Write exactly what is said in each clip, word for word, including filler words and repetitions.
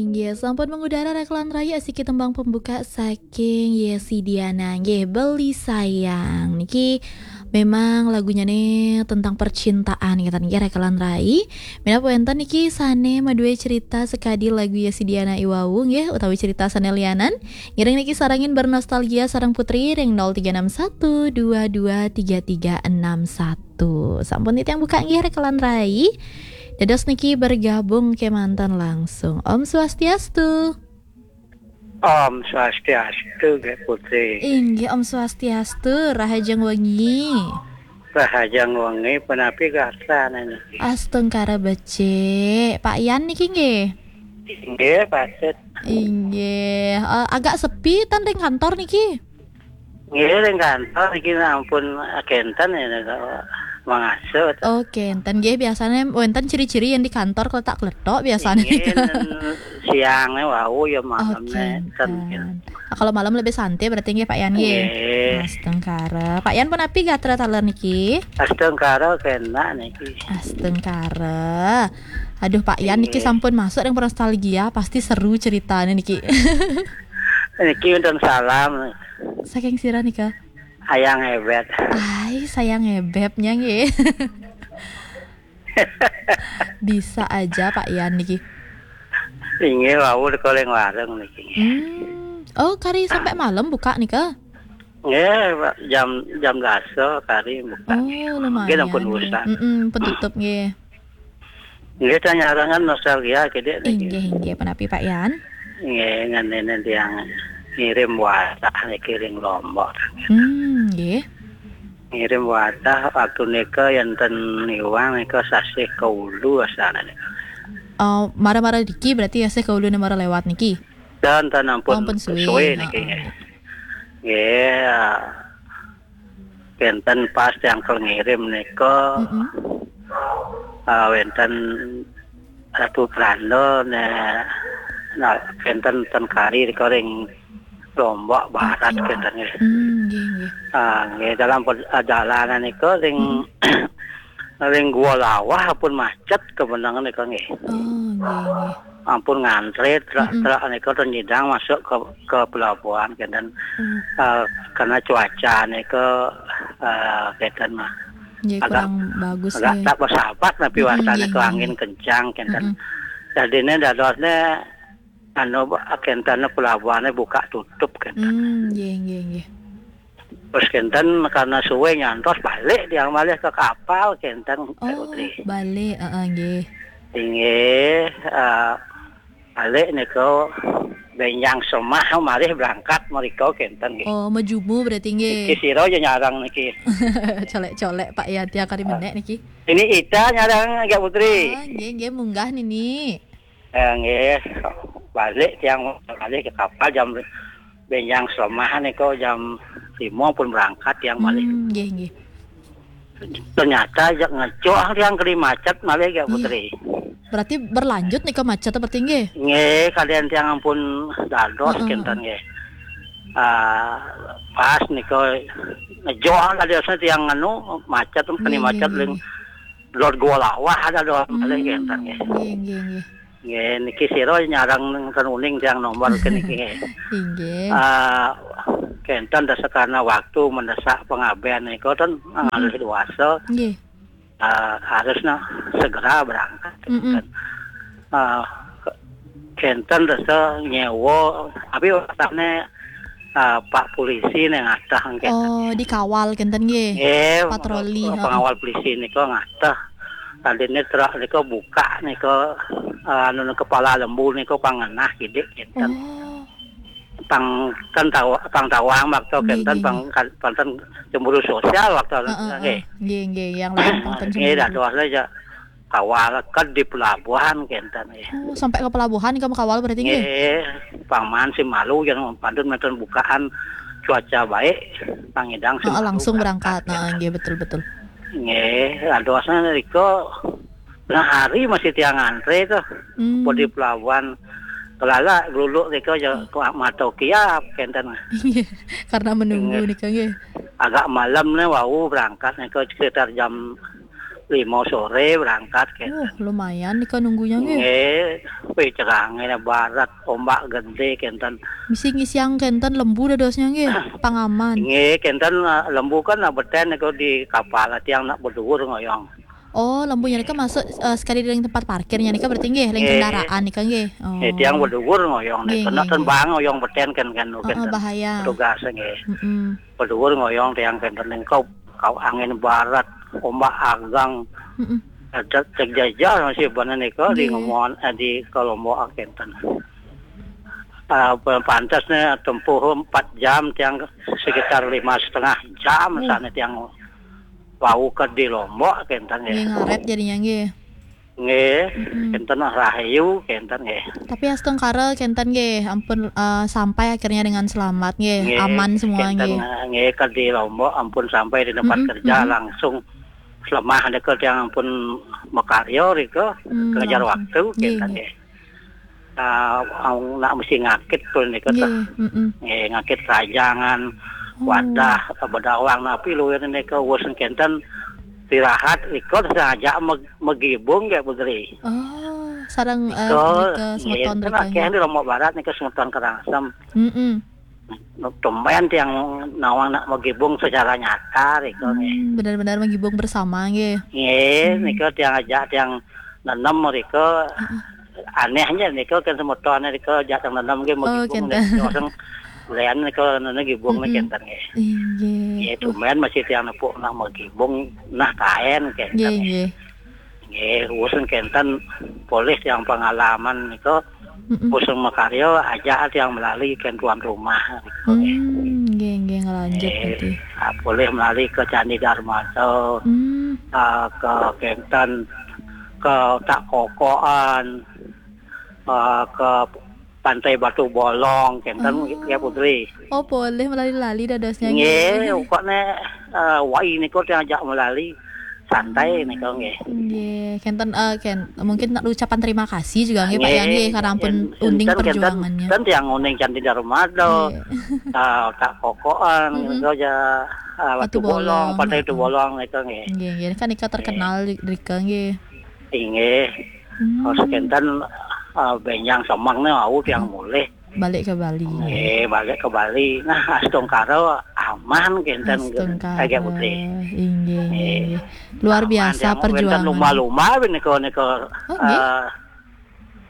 Inggih, sampun mengudara rekelan rayi asiki tembang pembuka saking Yesi Diana. Nggih, Beli Sayang. Niki memang lagunya nih tentang percintaan, ngeten nggih, rekelan rayi. Minab wenten niki sane madue cerita sekadi lagu Yesi Diana iwau, nggih, utawi cerita sane lianan. Ngiring niki sarengin bernostalgia sareng Putri ring nol tiga enam satu dua dua tiga tiga enam satu. Sampun titiang buka nggih rekelan rayi. Dados niki bergabung kemanten langsung. Om Swastiastu. Om Swastiastu, Gek Putri. Inggih, Om Swastiastu, rahajeng wengi. Rahajeng wengi, punapi gatra niki? Astungkara becik. Pak Yan niki nggih? Inggih, patut. Inggih. Eh, agak sepi ten ring kantor niki? Nggih, ring kantor niki ampun kenten ya, mangasuh. Oh, kenten nggih, biasanya wenten ciri-ciri yang di kantor kletak-kletok biasanya. Nggih, siangnya wau ya, malamnya ten. Nah, kalau malam lebih santai berarti nggih, Pak Yan nggih. Nggih. Astungkara. Pak Yan punapi gatra taler niki? Astungkara kena niki. Astungkara. Aduh, Pak Yan niki sampun masuk yang nostalgia, pasti seru ceritanya niki. Niki wonten salam. Saking sira nika? Ayang Ebet. Ai, sayang ebebnya nggih. Bisa aja Pak Yan niki. Inggih, wau teka ring warung niki. Hmm. Oh, kari sampai malam buka nika? Nggih, Pak, jam, jam dasa kari buka. Oh, lumayan. Mungkin ampun nggih. Urusan. Mm-mm, pun tutup nggih. Nggih, ta nyarengan nostalgia kidik niki. Inggih, inggih, punapi Pak Yan? Nggih, ngendene tiang ngirim wadah niki ring Lombok. Hmm, nggih. Ngirim wadah waktu nika enten iwang nika sasih kaulu asalane. Oh, mara-mara niki berarti sasih kaulune mara lewat niki? Dan, dan ampun, oh, ampun suwe, suwe niki. Heeh. Nggih, kenten pas tiang ngirim nika, mm-mm, ah, wenten Ratu Pranda ne, nah, kenten ten kari nika ring Lombok Barat, oke, kenten nggih. Hmm, nggih, nggih. Ah, nggih, dalam perjalanan nika ring, mm-mm, ring Gua Lawah pun macet kebenangan nika nggih. Oh, nggih, nggih. Ampun ngantre truk, mm-mm, truk nika ten nyidang masuk ke, ke pelabuhan kenten. Hmm. Eh, karena cuaca nika, eh, kenten mah. Nggih, agak kurang bagus, agak nggih. Tak bersahabat napi, mm-mm, wastane nggih, ke nggih, angin kencang kenten. Mm-mm. Dadine dadosne anu, kenten pelabuhane buka tutup kenten. Hmm, nggih, nggih, nggih. Terus kenten karena suwe nyantos balik tiang malih ke kapal kenten, Pak Putri. Oh, balik, heeh, nggih. Inggih, eh, balik nika benjang semah malih berangkat mrika kenten nggih. Oh, mejumu berarti nggih. Niki sira aja nyarang niki. Colek-colek Pak ya, tiang kari menek niki. Ini Ita nyarang, Gek Putri. Ah, nggih, nggih, munggah nini. Eh, nggih, balik tiang malih ke kapal jam benjang selemahan nika jam lima pun berangkat tiang malih. Hmm, nggih, nggih. Ternyata jak ngejok tiang kali macet malih, Gek Putri. Berarti berlanjut nika macet berarti nggih? Nggih, kalian tiang ampun dados, heeh, kenten nggih. Ah, pas nika ngejok dadosne tiang anu macet, kali, nggih, macet nggih, ling, nggih. Lor Gua Lawah ada doang malih, hmm, kenten nggih. Nggih, nggih, nggih. Nggih, niki sira nyarang ten uning tiang nomor ke niki nggih. Inggih. Ah, kenten dasar karena waktu mendesak pengabdian nika ten, hmm, ngalih dewasa. Nggih. Ah, harusnya segera berangkat. Mm-mm. Ah, kenten dasar nyewa, tapi wastane, ah, Pak Polisi nih ngatah kenten. Oh, dikawal kenten nggih. Nggih, patroli, heeh, pengawal polisi nika ngatah. Tadine truk nika buka nika, eh, anu, kepala lembu nika pang ngenah kidik kenten. Oh. Pang kan tawa-, pang tawang makta, nggih, kenten nggih, pang nggih. Kan, pang ten cemburu sosial waktu, heeh, nggih. Heeh. Nggih, nggih, yang lain pang ten, nggih, cemburu. Dados aja kawal ke di pelabuhan kenten nggih. Oh, sampai ke pelabuhan kamu kawal berarti nggih? Nggih, pang man si malu yang pantun menten bukaan cuaca baik, pang ngidang si, heeh, malu langsung berangkat, berangkat, heeh, kenten. Nggih, betul, betul. Nggih, dadosnya riko, nah, hari masih tiang antre tuh. Hmm. Di pelabuhan kelala geluluk riko aja, hmm, ku mata kiap kenten. Iya, karena menunggu, nggih, nika nggih. Agak malam nih wau berangkat nika sekitar jam lima sore berangkat, kenten. Wah, lumayan nika nunggunya nggih. Nggih, wih, cerah nggih, barat, ombak gede, kenten. Misi ngisiang kenten lembu dadosnya nggih, pangaman. Nggih, kenten, eh, lembu kan nak beten niku di kapal, tiang nak beduur ngoyong. Oh, lembunya nika masuk, eh, sekali ring tempat parkirnya nika berarti nggih, ring kendaraan nika nggih. Oh. Nggih, tiang beduur ngoyong nika. Nggih, nggih, nggih. Tembang ngoyong beten kan, kan, oh, kenten. Bahaya. Petugas nggih. Mm-mm. Beduur ngoyong tiang kenten, engkau kau angin barat, ombak agang. Mm-mm. Ada terjajah masih bener nika di ngomongan, eh, di Lombok kenten. Eh, pantasnya tempuh empat jam, tiang sekitar lima setengah jam. Wah. Sana tiang wau ke di Lombok kenten nggih. Nggih, ngaret jadinya nggih. Nggih, mm-mm, kenten rahayu kenten nggih. Tapi astungkara kenten nggih, ampun, eh, sampai akhirnya dengan selamat nggih, nggih, aman semua kenten, nggih. Nggih, ke di Lombok ampun sampai di tempat, mm-mm, kerja, mm-mm, langsung lemah nika tiang ampun makarya rika, hmm, kejar langsung waktu, nggih, kenten nggih. Nggih. Ah, nak mesti ngakit pun nika. Nggih, mm-mm. Nggih, ngakit rajangan, oh, wadah, bedawang napi luwih nika wus kenten istirahat, nika sengaja meg-, megibung nggih, Putri. Oh, sareng, eh, nika, nika nggih, semeton kan rika akeh nggih. Di Lombok Barat nika semeton Kerangsem. Mm-mm. Tumben tiang nawang nak megibung secara nyata rika nggih. Hmm, benar-benar megibung bersama nggih. Nggih, hmm, nika tiang ajak tiang nenem rika. Heeh. Anehnya nika kan semeton rika ajak tiang nenem nggih, oh, megibung kenten. Nika sing lian nika nenem gibung, mm-mm, nika kenten nggih. Inggih. Nggih, tumben masih tiang nepuk nak megibung nah kaen kenten nggih, nggih. Nggih. Nggih, usun kenten polih tiang pengalaman nika. Mm-mm. Usun makarya, ajak tiang melali kenten tuan rumah nika nggih. Hmm, nggih, nggih, ngelanjut nggih, berarti. Ah, polih melali ke Candi Darmada, hmm, ah, ke kenten, ke Otak Kokoan, ah, ke Pantai Batu Bolong, kenten, oh, nggih, Putri. Oh, polih melali-lali dadosnya nggih. Nggih, pokoknya, eh, wai nika tiang ajak melali santai nika nggih. Nggih, kenten, eh, ken-, mungkin ucapan terima kasih juga nggih, Pak Yan, nggih, nggih, karena ampun en-, uning enten, kenten, perjuangannya. Kan tiang uning Candi Darmada, nggih, eh, Otak Kokoan, mm-mm, nika aja, eh, Batu Bolong, Batu Bolong, Pantai Batu Bolong nika nggih. Nggih, nggih, kan nika terkenal di, di rika nggih. Inggih. Hmm. Terus kenten, eh, benjang semeng nih, wau tiang mulih. Balik ke Bali. Nggih, balik ke Bali. Nah, astungkara aman kenten, astungkara. Agak Putri. Inggih, nggih, nggih. Luar biasa perjuangan. Aman, tiang wenten lumba-lumba nika, nika, oh, nggih? Eh,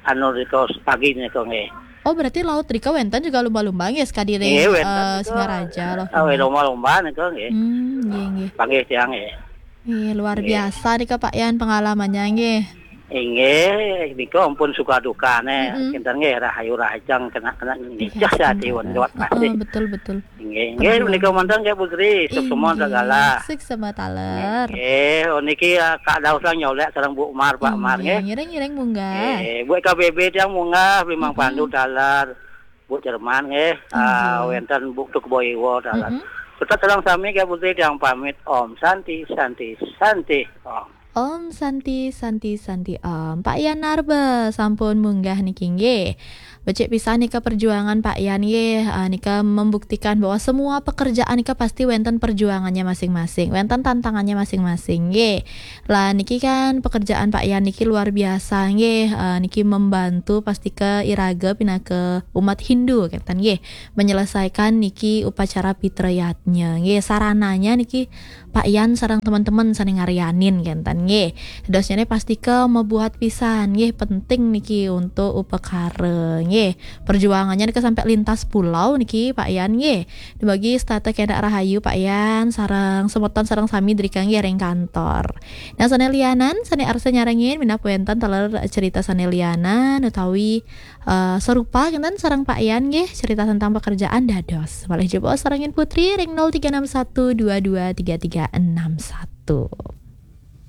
anu nika pagi nika nggih. Oh, berarti laut rika wenten juga lumba-lumba nggih, sekadi ring, nggih, wenten eh, nika. Singaraja loh. Ah, lumba-lumba nika nggih. Hmm, nggih, nggih. Panggih tiang nggih. Nggih, luar biasa nika Pak Yan pengalamannya nggih. Inggih, nika ampun suka dukane, mm-mm, kinten nggih, rahayu rahajeng kena-kena nicah sati wan liwat pasti. Heeh, betul, betul. Inggih, inggih, perjuangan. Nika manten nggih, Bu Tri, sukses semua segala. Inggih, sukses semua taler. Inggih, oh, niki, eh, Kak Daus lah nyolek sareng Bu Mar, Pak Mar, inggih, nggih. Ngiring-ngiring munggah. Nggih, Bu K B B tiang munggah, Bimang, mm-mm, Pandu taler, Bu Jerman nggih, ah, inggih, wenten Bu Tuk Boiwo taler. Mm-mm. Tetep sareng sami nggih, Bu Tri tiang pamit. Om Santi, Santi, Santi, Om. Om Santi, Santi, Santi, Om. Pak Yan Narba sampun munggah niki nggih. Becik pisan nika perjuangan Pak Yan nggih. Ah, nika membuktikan bahwa semua pekerjaan nika pasti wenten perjuangannya masing-masing, wenten tantangannya masing-masing nggih. Lah niki kan pekerjaan Pak Yan niki luar biasa nggih. Ah, niki membantu pasti ke iraga pinaka umat Hindu kenten nggih. Menyelesaikan niki upacara Pitra Yatnya nggih. Sarananya niki Pak Yan sareng teman-teman sane ngarianin kenten nggih. Dadosnyane pastika mabuat pisan nggih, penting niki untuk upakara nggih. Perjuangannya nika sampai lintas pulau niki Pak Yan nggih. Dumugi setata kenak rahayu Pak Yan sareng semeton sareng sami drika nggih ring kantor. Nah, sane lianan, sane arsa nyarengin minab wenten taler cerita sane lianan utawi eh, serupa kenten sareng Pak Yan nggih, cerita tentang pekerjaan dados. Malih jebos sarengin Putri ring nol tiga enam satu dua dua tiga tiga enam satu.